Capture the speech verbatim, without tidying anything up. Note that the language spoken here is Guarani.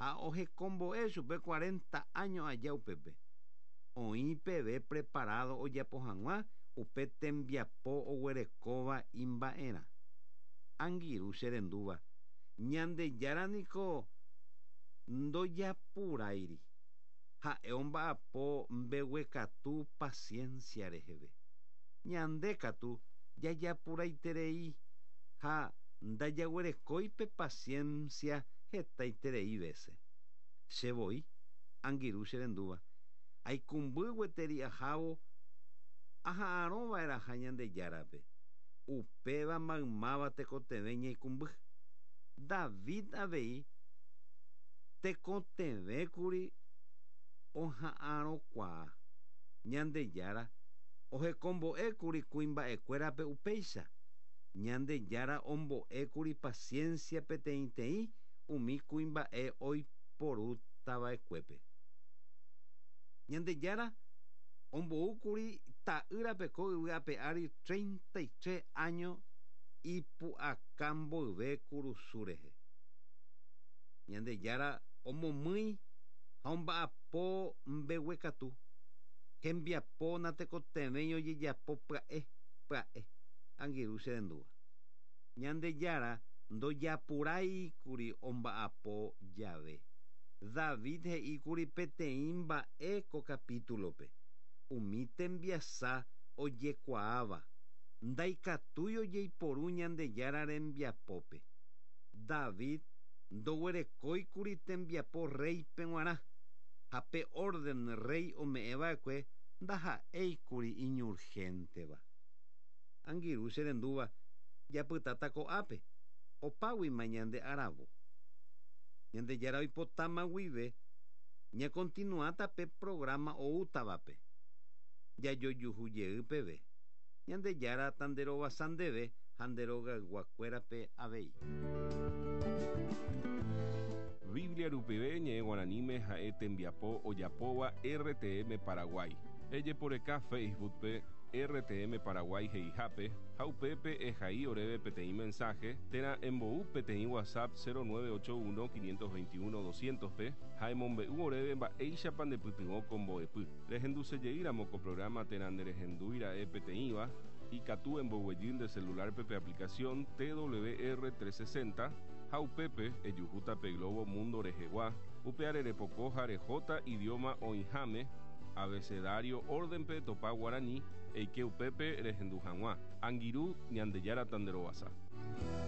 Ha ohekombo'e chupe cuarenta años aja upépe. Oĩ peve preparado ojapo hag̃ua upe tembiapo oguerekóva imba'erã. Angirũ cherendúva, Ñandejára niko ndojapurairi. Ha'e omba'apo mbeguekatu paciencia reheve. Ñande katu jajapuraiterei ha ndajaguerekói pe paciencia hetaiterei vece. Che voi, angirũ cherendúva, aikũmby gueteri ahávo aha'arõva'erãha Ñandejárape. Upéva maymáva tekotevẽ ñaikũmby. David avei tekotevẽkuri oha'arõkuaa. Ñandejára ohekombo'ékuri kuimba'ekuérape upéicha. Ñandejára ombo'ékuri paciencia peteĩteĩ umi kuimba'e oiporútava'ekuépe. Ñandejára omboúkuri ta'ýrape ko yvy ape ári treinta y tres años ipu'aka mboyve kurusu rehe. Ñandejára omomýi ha omba'apo mbeguekatu. Hembiapo natekotevẽi ojejapo pya'e pya'e. Angirũ cherendúva. Ñandejára ndojapuráikuri omba'apo jave. David he'íkuri peteĩ mba'e ko capítulope. Umi tembiasa ojekuaáva ndaikatúi ojeiporu Ñandejára rembiapópe. David ndoguerekóikuri tembiapo reype g̃uarã ha pe orden rey ome'ẽva'ekue ndaha'éikuri iñurgénteva. Angirũ cherendúva, japytáta ko'ápe, opáguima ñande aravo. Ñandejára oipotáma guive ñakontinuáta pe programa oútavape. Jajojuhu jey peve. Ñandejára tanderovasa ndéve ha nde rogayguakuérape avei. Biblia rupive ñe'ẽ guaraníme ha'e tembiapo ojapóva R T M Paraguay. Ejeporeka Facebookpe R T M Paraguay he'ihápe ha upépe ehai oréve peteĩ mensaje térã embou peteĩ WhatsApp cero nueve ocho uno quinientos veintiuno doscientos pe ha emombe'u oréve mba'éichapa ndepytyvõ ko mbo'epy. Rehendusejeýramo ko programa térã nderehendúira'e peteĩva, ikatu emboguejy nde celularpe pe aplicación T W R trescientos sesenta ha upépe ejuhúta pe Globo Mundo rehegua, upe arerepoko ha rehóta idioma oĩháme abecedario órdenpe topa guarani eike upépe rehendu hag̃ua. Angirũ, Ñandejára tanderovasa.